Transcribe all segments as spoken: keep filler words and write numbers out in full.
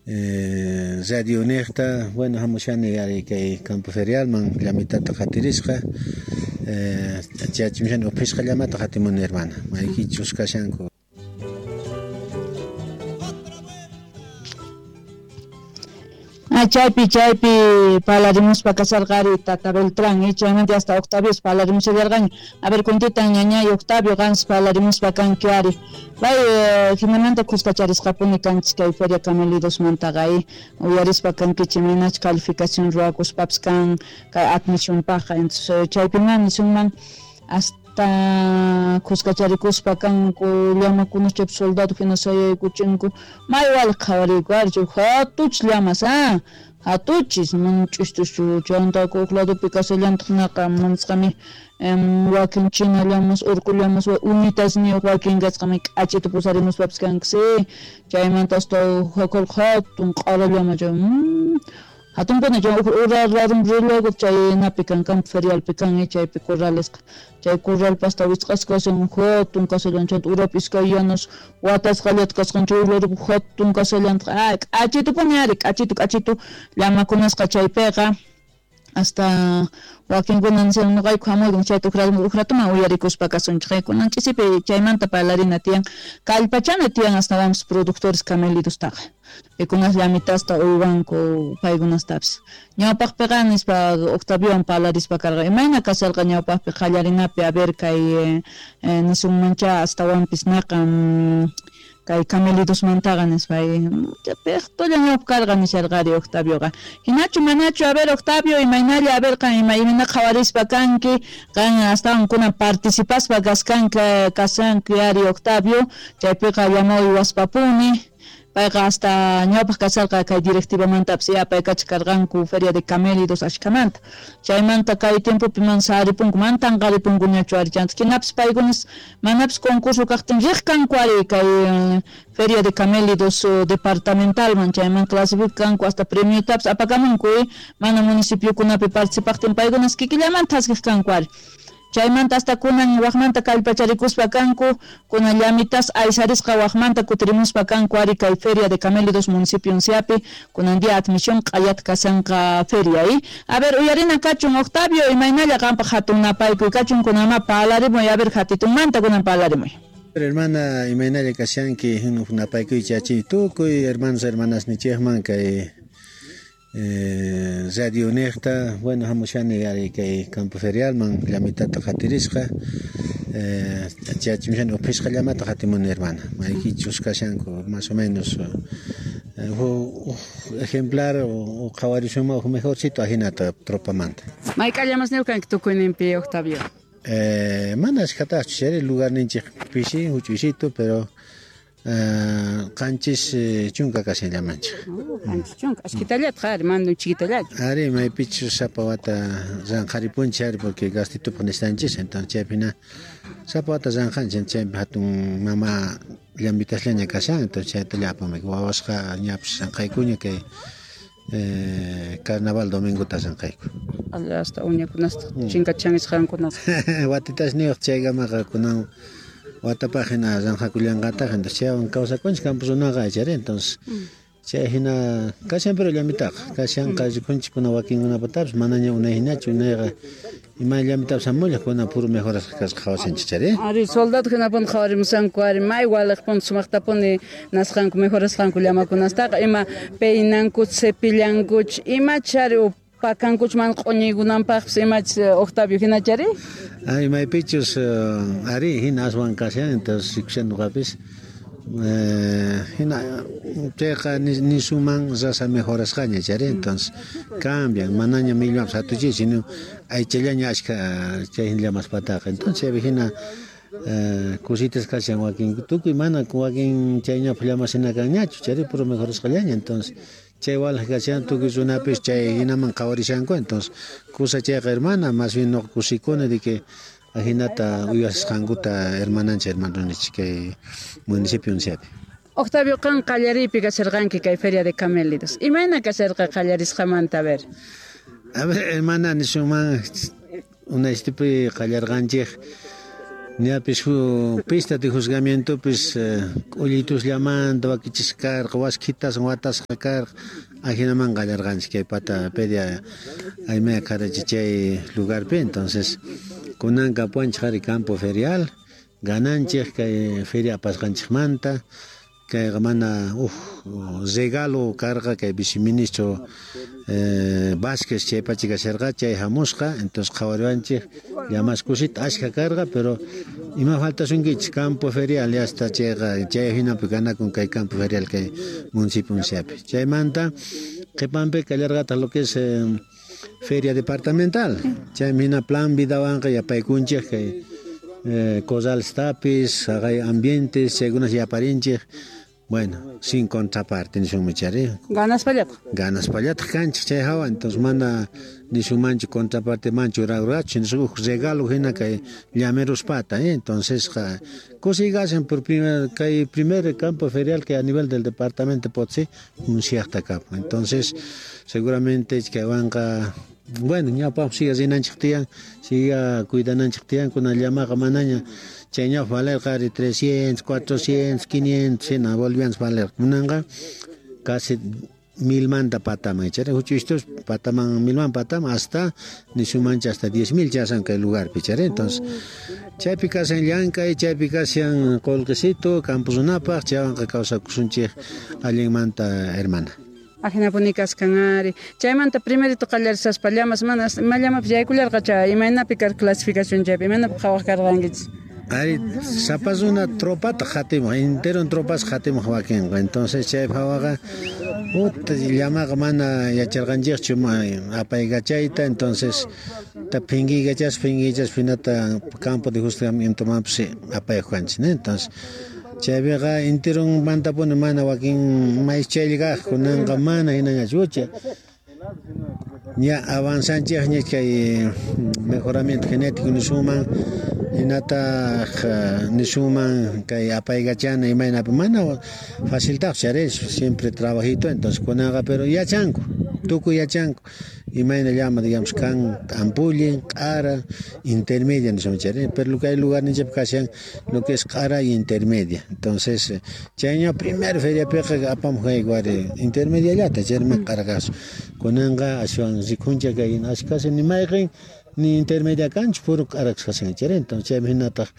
Eh, radio niqta, bueno, hamushani ari kay campo ferialman llamitata qatirisqa, eh, chayachimshani uphisqa llamata qatimuni hermana, maykichus kashanku. Chaypi chaypi palarimuspa kasarqari Tata Beltrán, y chaymanta hasta Octavio palarimushallarqaña. A ver, kuntitan ñañay Octavio qansi palarimuspa kanki ari. Pay jinamanta kuskacharisqapuni kanchis kay Feria Camelidosmantaqa, uyarispa kankichik imaynachus calificación ruwakuspapis kan kay admisionpaqqa. Entonces chaypima nisunman hasta kuskacharikuspa kanku llamakunas chaypi soldado hina sayaykuchinku may waliq qhawariyku ari chay hatuchis llamas ah hatuchis mana ch'istuschu chayanta huk ladopi kasallantaq naqa manisqami wakin china llamas urqu llamas unitasniyuq wakin kasqami k'achita pusarimuspapis kanki chaymanta hasta hatun q'ara llama chay hatunkuna chay ura radun riluego chay napi kan campo ferialpi kan chaypi corralesqa chay corralpa hasta wisq'asqa kashan hatun kasallan chayta urapi iskay yanas watasqallata kasqan chay urapi hatun kasallantaq ah k'achitupuni ari k'achitu k'achitu llamakunasqa chaypiqa hasta wakinkuna nishan noqayku hamuyku chayta uj ratuman uyarikuspa kasunchik kunan ch'isipi chaymanta parlarina tiyan kallpachana tiyan astawanpis productores camelidostaqa pikunas llamitasta uywanku paykunastapis ñawpaqpiqa nispa Octaviowan parlarispa karqa imayna kasharqa ñawpaqpi qallarinapi a ver kay nisunmancha astawanpis naqa kay camelidosmantaqa nispa piqtulla ñawpa karqa nisharqari Octavioqa hinachu manachu a ver Octavio imaynalla a ver qan ima imayna qhawarispa kanki qan astawan kunan participaspa kaskanki kasanki ari Octavio chaypiqa llama uywaspapuni payqa hasta ñawpaq kasharqa kay directivamantapis apaykachaq karqanku Feria de Camélidos ashkamanta chaymanta kay tiempopi man saripunku man tanqaripunkuñachu ari chanta hinapis paykunas manapis concurso kaqtin riq kanku ari kay Feria de Camélidos departamentalman chayman clasificanku hasta premiotapis apakamunku mana municipiokunapi participaqtin paykunas kikillamanta thaskiq kanku ari chaymanta hasta kunan waqmanta kallpacharikuspa kanku kunan llamitas aysarisqa waqmanta kutirimuspa kanku ari kay Feria de Camélidos municipio unciapi kunan día admisión q'ayat kasanqa feria a ver uyarina kachun Octavio imaynalla qampaq hatun napaykuy kachun kunama parlarimuy a ver hatitunmanta kunan parlarimuy. Hermana imaynalla kashanki napaykuy chachi tukuy hermanos hermanas nichikman kay Eh, radio niqta, bueno, hamushani ari kay campo ferialman llamitata qatirisqa, eh, chayachimshani uphisqa llamata qatimuni hermana, maykichus kashanku más o menos eh, huk ejemplar o qhawarisuma huk mejorcito ajinata tropamanta. Mayk'a llamasniyuq kanki tukuyninpi Octavio? Eh, mana ashkhataqchu chayri lugarninchik pishi huch'uysito pero qanchis chunka kashan llamanchik. Qanchis chunka ashkitallata ari mana chiquitallata. Ari maypichus sapa wata ranqharipunchik ari porque gastitupaq necesitanchis entonces chaypina sapa wata ranqhanchik chaypi hatun mama llamitasllaña kashan entonces chaytalla apamayku wawasqa ñapis ranqhaykuña kay eh, carnaval domingota ranqhayku. Hasta uñakunasta chinkachanqankunasqa. Watitasniyuq chaykamaqa kunan watapaq hina ranqhakullanqataq entonces chaywan kawsakunchik campo runaqa chayri entonces chay hina kashan pero llamitaqa kashan rikunchik kuna wakinkunapatapis manaña unay hinachu unayqa ima llamitapis hamullaq kuna puro mejorasqa kasqa qhawasanchik chayri. Ari soldado hinapuni qhawarimusanku ari may waliqpuni sumaqtapuni nasqanku mejorasqanku llamakunastaqa ima peinanku cepillankuch imach ari pakankuch mana q'uñiykunanpaqpis imach Octavio hinachari? Ay maypichus ari hina aswan kashan entonces rikushan nuqapis hina chayqa nisuman raza mejorasqaña chayri entonces cambian manaña millwanpis hatuchay sino aychallaña ashka chay llamaspataqa entonces chaypi hina cositas kashan wakin tukuy mana wakin chayñapaq llamas hina kanñachu chayri puro mejorasqallaña entonces chay walaj kashan tukuy runapis chay hinaman qhawarishanku entonces kusa chayqa hermana más bien nuqa kusikuni de que ajinata uywasqankuta hermananchik hermanonichik kay municipio unciapi. Octavio qan qallariypi kasharqanki kay Feria de Camélidos imayna kasharqa qallarisqamanta a ver? A ver hermana nisunman unaystipi qallarqanchik Ñapis pista de juzgamientopis k'ullituslllamanta wakichisqa karqa, waskhitaswan watasqa karqa, ajinaman qallarqanchik kay pata pedia aymaya qarachi chay lugarpi. Entonces kunanqa apuanchik ari campo ferial, gananchik kay feria apasqanchikmanta, kayqa mana uj regalo karqa kay viceministro eh, Vázquez chay pacha kasharqa, chay hamusqa, entonces qhawariwanchik llamas kusita ashka karqa, pero ima faltasunkichik campo ferial ya hasta chayqa chay hinapi ganakun kay campo ferial kay municipio Unciapi. Chaymanta qhipanpi kallarqataq lo que es eh, feria departamental, chaymi hina plan vidawanqa yapaykunchik kay eh, corrales tapis, haqay ambientes, chaykunas yaparinchik. Bueno, sin contraparte nisunmi chari. Ganaspallataq. Ganaspallataq kanchik chay hawa, entonces mana nisunmanchu contraparte manchu rurachu, nisun uj regalo hina kay llameruspata, eh? Entonces kusigasen por primer kay primer campo ferial que a nivel del departamento Potosí Unciaqta kapun. Entonces seguramente kaywanqa bueno, ñawpaqpi siga rinanchik tiyan, siga cuidananchik tiyan, kuna llamaqa manaña chay ñawpa valerqa ari trescientos, cuatrocientos, quinientos hina bolivianos valerqa. Kunanqa casi milmanta pataman, chayra huch'uystus pataman milman pataman hasta nisunmancha hasta diez mil chasan kay lugarpi, chayra. Entonces chaypi kashan llank'ay, chaypi kashan qullqisito campo runapaq, chaywanqa kawsakusunchik allinmanta, hermana. Ajinapuni kaskan ari. Chaymanta primerito qallarisaspa llamas mana ima llamapis yaykullarqacha, imaynapi karqa clasificación chaypi, imaynapi qhawaq karqankichis? Ari sapa runa tropata qatimuq, entero tropas qatimuq wakinqa. Entonces chay phawaqa uta llamaqa mana yacharqanchikchu apaykachayta, entonces ta phinkiykachaspa phinkiykachaspa hinata campo de juzgamientomanpis apayuq kanchik, ¿no? Entonces chaypiqa enteronmantapuni mana wakin maych chaylla kaq, kunanqa mana hinañachu ucha. Ña avanzanchikña kay mejoramiento genético nisunman, hinataq nisunman kay apaykachana imaynapi mana faciltaq chari, siempre trabajito, entonces kunanqa pero yachanku, tukuy yachanku imayna llama digamos kan ampullin, q'ara, intermedia nisunman chari, pero kay lugarninchikpi kashan lo que es q'ara y intermedia. Entonces chayña primer feriapiqa apamuq kayku ari intermediallata, chaymi q'ara kasqa. Kunanqa ashwan rikunchik kay ashkasi ni mayqin ni intermedia kanchu, puro q'ara kashan chari. Entonces chaymi hinataq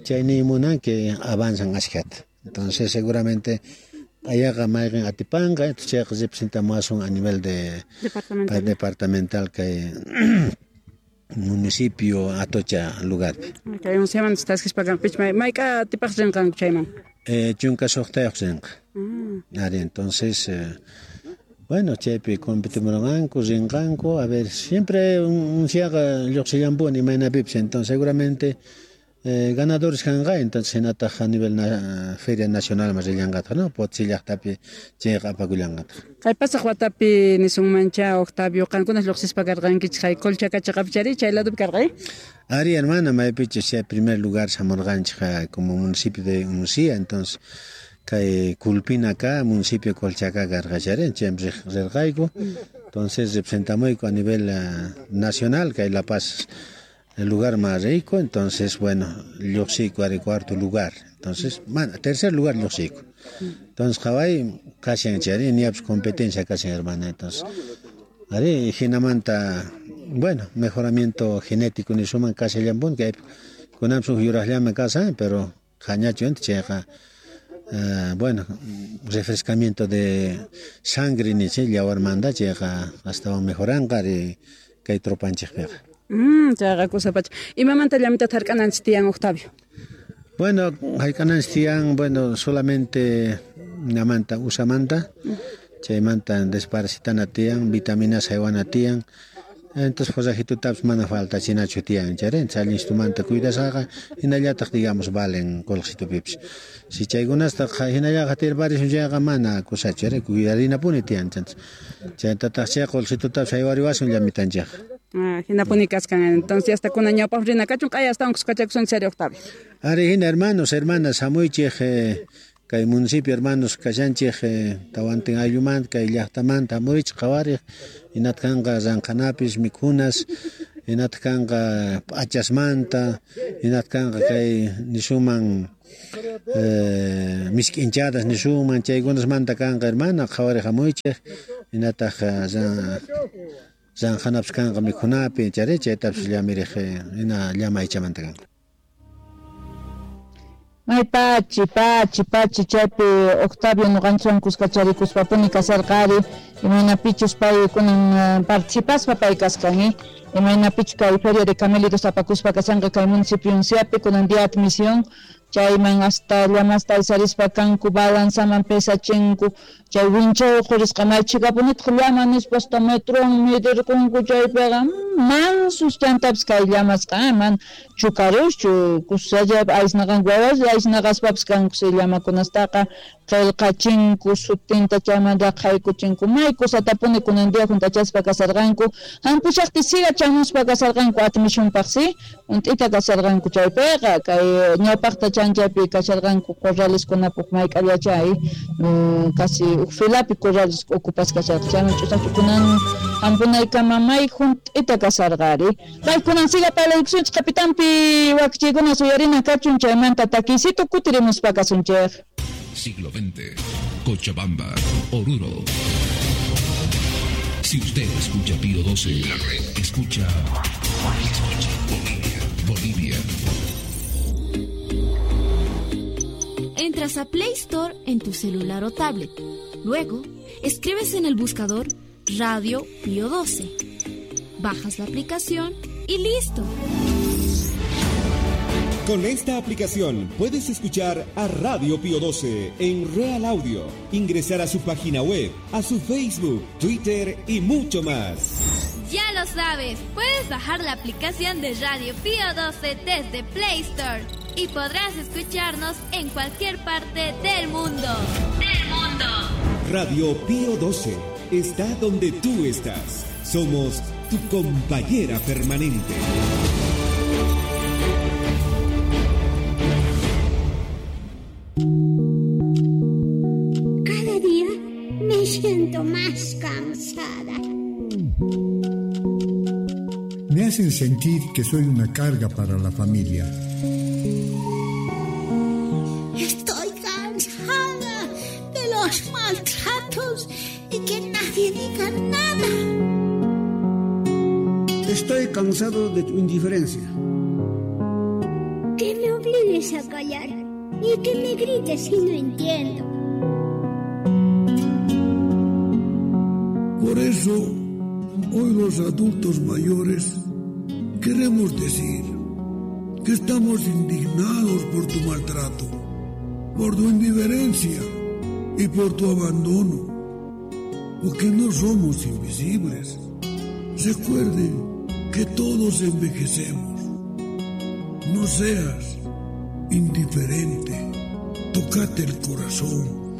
chay nimunan que avanzan ashkata. Entonces seguramente ayaqa mayqin atipanqa, entonces chayqa representamuwasun a nivel de departamental, departamental kay municipio Atocha lugarpi. Kay Unciaman taskispa kanpich mayk'a atipaq rinqanku chayman? Eh, chunka suqtayuq rinqa. Ari, entonces eh, bueno, chaypi competimuranqanku, rinqanku, a ver, siempre Unciaqa lluqsillanpuni imaynapipis, entonces seguramente eh, ganadores kanqa, entonces hinataq a nivel na, feria nacional mas rillanqataq, ¿no? Potosí llaqtapi chayqa apakullanqataq. Kay pasaq watapi nisunmancha Octavio, qankunas lluqsispa karqankichik kay Colchacachiqapi chari, chay ladopi karqay? Ari, hermana, maypichus chay primer lugar hamurqanchik como municipio de Uncia, entonces kay Culpina acá, municipio Colchaca karqa chari, chaymi rirqayku. Entonces representamuyku a nivel uh, nacional, kay La Paz el lugar más rico, entonces bueno, lluqsiyku ari cuarto lugar, entonces, bueno, tercer lugar lluqsiyku. Entonces qhaway kashan chari, ñapis competencia kashan, hermana, entonces ari hinamanta, bueno, mejoramiento genético nisuman kashallampuni, kay kunanpis uj yuraqllama kashan, pero hañachu inti chayqa Uh, bueno, refrescamiento de sangre nichi llawarmanta chayqa astawan mejoranqa ari kay tropanchikpiqa. Mm, chayqa kusapacha. Imamanta llamita hark'ananchik tiyan, Octavio? Bueno, hark'ananchik tiyan, bueno, solamente namanta usamanta, chaymanta desparasitana tiyan, vitaminas haywana tiyan. Entonces forrajitutapis mana faltachinachu tiyan, chari, allinstumanta cuidasqaqa hinallataq digamos valen qullqisitupipis. Si chaykunasta hinallaqa tirparisun chayqa mana kusachu, chari, cuidarinapuni tiyan, chaytataq chay qullqisitutapis haywariwasun llamitanchikqa. Ah, hinapuni kaskan. Entonces hasta kuna ñawpaq rina kachun q'aya astawan kuskachakusun chari, Octavio. Ari hina hermanos, hermanas, hamuychik eh, kay municipio hermanos kashanchik eh, tawantin ayllumanta kay llaqtamanta hamurichik qhawariq, hinat kanqa ranqhanapis mikhunas, hinataq kanqa p'achasmanta, hinataq kanqa kay nisuman eh, misk'inchadas nisuman, chaykunasmanta kanqa hermana, qhawariq hamuychik, hinataq ranjanapis kanqa mikhunapi, chari chaytapis llamiriq hina llama aychamanta kanqa. May pachi, pachi, pachi, chaypi Octavio nuqanchikwan kuskacharikuspa kasarqari, imaynapichus pay kunan participaspa pay kasqan, eh? Imaynapichus kay Feria de Camélidos apakuspa kashanqa kay municipio Unciapi, kunan día admisión, chayman hasta llamasta aysarispa kanku balanzaman pesachinku, chay winchaw qurisqa may chhikapunitaq llama nispa hasta metron medirqunku chaypiqa mansus chantapis kay llamasqa man chukaruschu kusallap aysnaqanku wawas aysnaqaspapis kanku chay llamakunastaqa qillqachinku sutinta chaymanta qhaykuchinku may kusatapuni kunan día juntachaspa kasarqanku hampushaqti siga chamuspa kasarqanku admisionpaq si unt'ita kasarqanku chaypiqa kay ñawpaqta chanchaypi kasharqanku corraleskunapaq mayk'allachay casi uj filapi corrales ocupas kasharqa chayman ch'usaqchu kunan hampunaykama may junt'ita kasarqari kay kunan siga parlaykusunchik kapitanpi wakichiykuna suyarina kachun chaymanta takisito kutirimuspa kasunchik. Siglo veinte, Cochabamba, Oruro. Si usted escucha Pío doce, la red escucha, escucha Bolivia, Bolivia. Entras a Play Store en tu celular o tablet. Luego, escribes en el buscador Radio Pío doce. Bajas la aplicación y listo. Con esta aplicación puedes escuchar a Radio Pío doce en Real Audio, ingresar a su página web, a su Facebook, Twitter y mucho más. Ya lo sabes, puedes bajar la aplicación de Radio Pío doce desde Play Store y podrás escucharnos en cualquier parte del mundo. ¡Del mundo! Radio Pío doce está donde tú estás. Somos tu compañera permanente. Cada día me siento más cansada. Me hacen sentir que soy una carga para la familia. Estoy cansada de los maltratos y que nadie diga nada. Estoy cansado de tu indiferencia. Que me obligues a callar y que me grites si no entiendo. Por eso, hoy los adultos mayores queremos decir que estamos indignados por tu maltrato, por tu indiferencia y por tu abandono, porque no somos invisibles. Recuerden que todos envejecemos. No seas indiferente. Tócate el corazón.